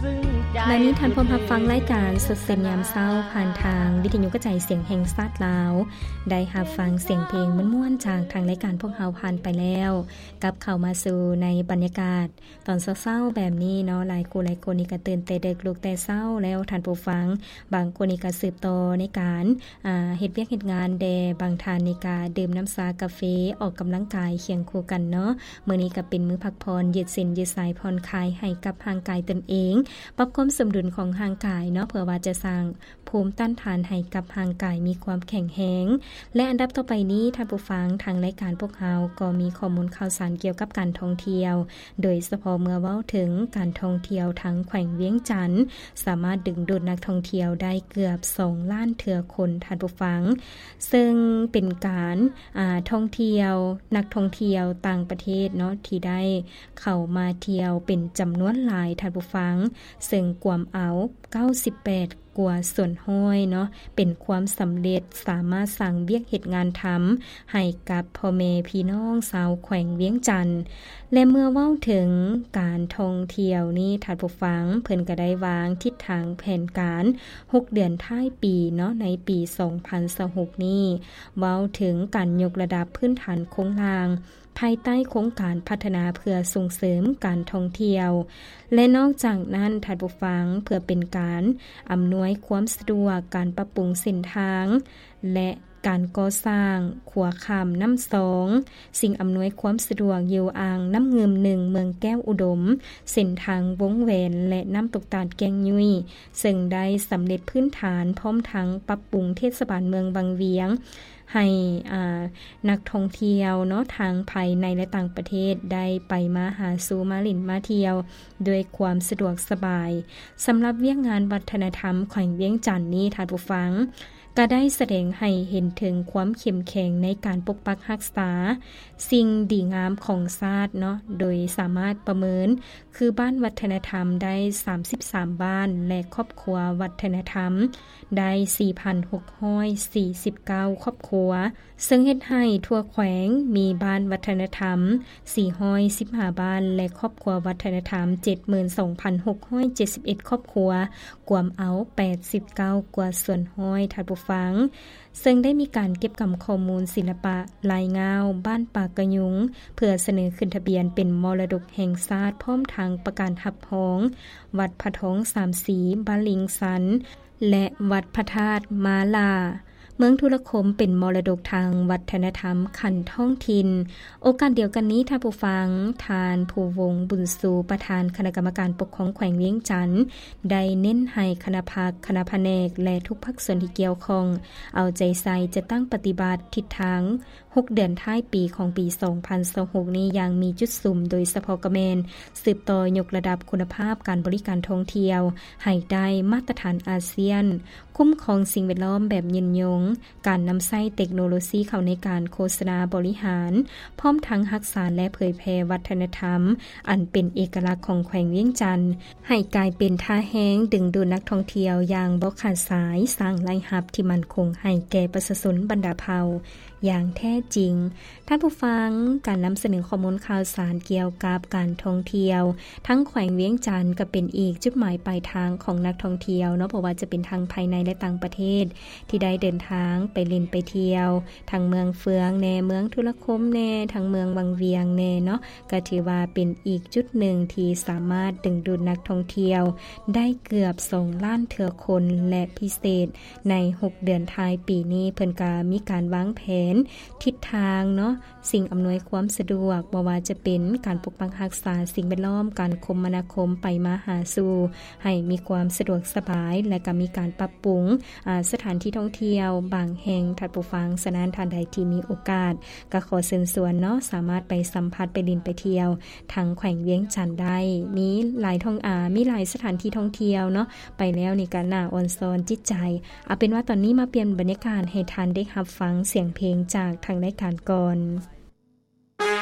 ບັດນີ້ທ່ານພົມຮັບຟັງລາຍການສົດເສັນຍາມເຊົ້າ ຜ່ານທາງວິທະຍຸກະຈາຍສຽງແຫ່ງຊາດລາວ. ໄດ້ຮັບຟັງສຽງເພງມ່ວນໆຈາກທາງລາຍການພວກເຮົາຜ່ານໄປແລ້ວ, ກັບເຂົ້າມາສູ່ໃນບັນຍາກາດຕອນເຊົ້າໆແບບນີ້ເນາະ, ຫຼາຍຄູ່ຫຼາຍຄົນນີ້ກໍຕື່ນແຕ່ເດິກ ລຸກແຕ່ເຊົ້າແລ້ວທ່ານຜູ້ຟັງ. ບາງຄົນນີ້ກໍສືບຕໍ່ໃນການ ອ່າ ເຮັດວຽກເຮັດງານແດ່, ບາງທ່ານນີ້ກະດື່ມນ້ຳຊາກາເຟ ອອກກຳລັງກາຍຄຽງຄູ່ກັນເນາະ. ມື້ນີ້ກະເປັນມື້ພັກຜ່ອນ ຢືດເສັ້ນຢືດສາຍ ຜ່ອນຄາຍໃຫ້ກັບຮ່າງກາຍຕົນເອງ, ປັບຄວາມສົມດຸນຂອງຮ່າງກາຍເນາະ, ເພື່ອວ່າຈະສ້າງພູມຕ້ານທານໃຫ້ກັບຮ່າງກາຍມີຄວາມແຂງແຮງ. ແລະ ອັນດັບຕໍ່ໄປນີ້ທ່ານຜູ້ຟັງ, ທາງລາຍການພວກເຮົາກໍມີຂໍ້ມູນຂ່າວສານກ່ຽວກັບການທ່ອງທ່ຽວ, ໂດຍສະເພາະເມື່ອເວົ້າເຖິງການທ່ອງທ່ຽວທາງແຂວງວຽງຈັນ ສາມາດດຶງດູດນັກທ່ອງທ່ຽວໄດ້ເກືອບສອງລ້ານເທື່ອຄົນທ່ານຜູ້ຟັງ, ເຊິ່ງເປັນການ ອ່າ ທ່ອງທ່ຽວ ນັກທ່ອງທ່ຽວຕ່າງປະເທດເນາະ ທີ່ໄດ້ເຂົ້າມາທ່ຽວເປັນຈຳນວນຫຼາຍທ່ານຜູ້ຟັງ, ເຊິ່ງກວມເອົາເກົ້າສິບແປດ ກວ່າສ່ວນຮ້ອຍເນາະ, ເປັນຄວາມສຳເລັດ, ສາມາດສ້າງວຽກເຮັດງານທຳໃຫ້ກັບພໍ່ແມ່ພີ່ນ້ອງຊາວແຂວງວຽງຈັນ. ແລະ ເມື່ອເວົ້າເຖິງການທ່ອງທ່ຽວນີ້ທ່ານຜູ້ຟັງ, ເພິ່ນກໍໄດ້ວາງທິດທາງແຜນການຫົກເດືອນທ້າຍປີເນາະ, ໃນປີສອງພັນຊາວຫົກນີ້ ເວົ້າເຖິງການຍົກລະດັບພື້ນຖານໂຄງລ່າງ ພາຍໃຕ້ໂຄງການພັດທະນາເພື່ອສົ່ງເສີມການທ່ອງທ່ຽວ ແລະ ນອກຈາກນັ້ນທ່ານຜູ້ຟັງ, ເພື່ອເປັນການອຳນວຍຄວາມສະດວກ, ການປັບປຸງເສັ້ນທາງ ແລະ ການກໍ່ສ້າງຂົວຂ້າມນ້ຳຊອງ, ສິ່ງອຳນວຍຄວາມສະດວກຢູ່ອ່າງນ້ຳງື່ມໜຶ່ງ ເມືອງແກ້ວອຸດົມ, ເສັ້ນທາງວົງແຫວນ ແລະ ນ້ຳຕົກຕາດແກ້ງຍຸ້ຍ, ເຊິ່ງໄດ້ສຳເລັດພື້ນຖານ ພ້ອມທັງປັບປຸງເທດສະບານເມືອງວັງວຽງ ໃຫ້ ອ່າ ນັກທ່ອງທ່ຽວເນາະ ທັງພາຍໃນ ແລະ ຕ່າງປະເທດ ໄດ້ໄປມາຫາສູ່ ມາຫຼິ້ນມາທ່ຽວດ້ວຍຄວາມສະດວກສະບາຍ. ສຳລັບວຽກງານວັດທະນະທຳແຂວງວຽງຈັນນີ້ ທ່ານຜູ້ຟັງ ກະໄດ້ສະແດງໃຫ້ເຫັນເຖິງຄວາມເຂັ້ມແຂງໃນການປົກປັກຮັກສາສິ່ງດີງາມຂອງຊາດເນາະ, ໂດຍສາມາດປະເມີນຄືບ້ານວັດທະນະທຳໄດ້ສາມສິບສາມບ້ານ ແລະ ຄອບຄົວວັດທະນະທຳ ໄດ້ສີ່ພັນຫົກຮ້ອຍສີ່ສິບເກົ້າຄອບຄົວ, ເຊິ່ງເຮັດໃຫ້ທົ່ວແຂວງມີບ້ານວັດທະນະທຳສີ່ຮ້ອຍສິບຫ້າບ້ານ ແລະ ຄອບຄົວວັດທະນະທຳເຈັດໝື່ນສອງພັນຫົກຮ້ອຍເຈັດສິບເອັດຄອບຄົວ, ກວມເອົາແປດສິບເກົ້າກວ່າສ່ວນຮ້ອຍ ທ່ານຜູ້ຟັງ. ເຊິ່ງໄດ້ມີການເກັບກຳຂໍ້ມູນສິລະປະລາຍງາວບ້ານປາກກະຍຸງ ເພື່ອສະເໜີຂຶ້ນທະບຽນເປັນມໍລະດົກແຫ່ງຊາດ, ພ້ອມທັງປະກາດຮັບຮອງວັດພະທອງສາມສີ, ບ້ານລິງຊັນ ແລະ ວັດພະທາດມາລາ. ເມືອງທຸລະຄົມເປັນມໍລະດົກທາງວັດທະນະທຳຂັ້ນທ້ອງຖິ່ນ. ໂອກາດດຽວກັນນີ້, ທ່ານຜູ້ຟັງ, ທ່ານ ພູວົງ ບຸນຊູ, ປະທານຄະນະກຳມະການປົກຄອງແຂວງວຽງຈັນ ໄດ້ເນັ້ນໃຫ້ຄະນະພັກ, ຄະນະພະແນກ ແລະ ທຸກພາກສ່ວນທີ່ກ່ຽວຂ້ອງ ເອົາໃຈໃສ່ຈັດຕັ້ງປະຕິບັດທິດທາງ ຫົກເດືອນທ້າຍປີຂອງປີສອງພັນຊາວຫົກນີ້ຢ່າງມີຈຸດສຸມ, ໂດຍສະເພາະກໍແມ່ນສືບຕໍ່ຍົກລະດັບຄຸນນະພາບການບໍລິການທ່ອງທ່ຽວໃຫ້ໄດ້ມາດຕະຖານອາຊຽນ, ຄຸ້ມຄອງສິ່ງແວດລ້ອມແບບຍືນຍົງ, ການນຳໃຊ້ເຕັກໂນໂລຊີເຂົ້າໃນການໂຄສະນາບໍລິຫານ, ພ້ອມທັງຮັກສາ ແລະ ເຜີຍແຜ່ວັດທະນະທຳອັນເປັນເອກະລັກຂອງແຂວງວຽງຈັນ ໃຫ້ກາຍເປັນທ່າແຮງດຶງດູດນັກທ່ອງທ່ຽວຢ່າງບໍ່ຂາດສາຍ, ສ້າງລາຍຮັບທີ່ໝັ້ນຄົງໃຫ້ແກ່ປະຊາຊົນບັນດາເຜົ່າຢ່າງແທ້ຈິງ. ທ່ານຜູ້ຟັງ, ການນຳສະເໜີຂໍ້ມູນຂ່າວສານກ່ຽວກັບການທ່ອງທ່ຽວທາງແຂວງວຽງຈັນ ກໍເປັນອີກຈຸດໝາຍປາຍທາງຂອງນັກທ່ອງທ່ຽວເນາະ, ບໍ່ວ່າຈະເປັນທັງພາຍໃນ ແລະ ຕ່າງປະເທດ ທີ່ໄດ້ເດີນທາງໄປຫຼິ້ນໄປທ່ຽວ ທັງເມືອງເຟືອງແດ່, ເມືອງທຸລະຄົມແດ່, ທັງເມືອງວັງວຽງແດ່ເນາະ, ກໍຖືວ່າເປັນອີກຈຸດໜຶ່ງທີ່ສາມາດດຶງດູດນັກທ່ອງທ່ຽວໄດ້ເກືອບສອງລ້ານເທື່ອຄົນ ແລະ ພິເສດໃນຫົກເດືອນທ້າຍປີນີ້ ເພິ່ນກໍມີການວາງແຜນທິດທາງເນາະ, ສິ່ງອຳນວຍຄວາມສະດວກ, ບໍ່ວ່າຈະເປັນການປົກປັກຮັກສາສິ່ງແວດລ້ອມ, ການຄົມມະນາຄົມໄປມາຫາສູ່ໃຫ້ມີຄວາມສະດວກສະບາຍ ແລະ ກໍມີການປັບປຸງ ອາ ສະຖານທີ່ທ່ອງທ່ຽວບາງແຫ່ງ ທ່ານຜູ້ຟັງ. ສະນັ້ນ ທ່ານໃດທີ່ມີໂອກາດ ກໍຂໍເຊີນຊວນເນາະ, ສາມາດໄປສຳຜັດ, ໄປຫຼິ້ນໄປທ່ຽວທາງແຂວງວຽງຈັນໄດ້. ມີຫຼາຍທ່ອງ ອາ ມີຫຼາຍສະຖານທີ່ທ່ອງທ່ຽວເນາະ, ໄປແລ້ວນີ້ກໍໜ້າອ່ອນຊອນຈິດໃຈ. ເອົາເປັນວ່າຕອນນີ້ມາປ່ຽນບັນຍາກາດໃຫ້ທ່ານໄດ້ຮັບຟັງສຽງເພງຈາກທາງລາຍການກ່ອນ.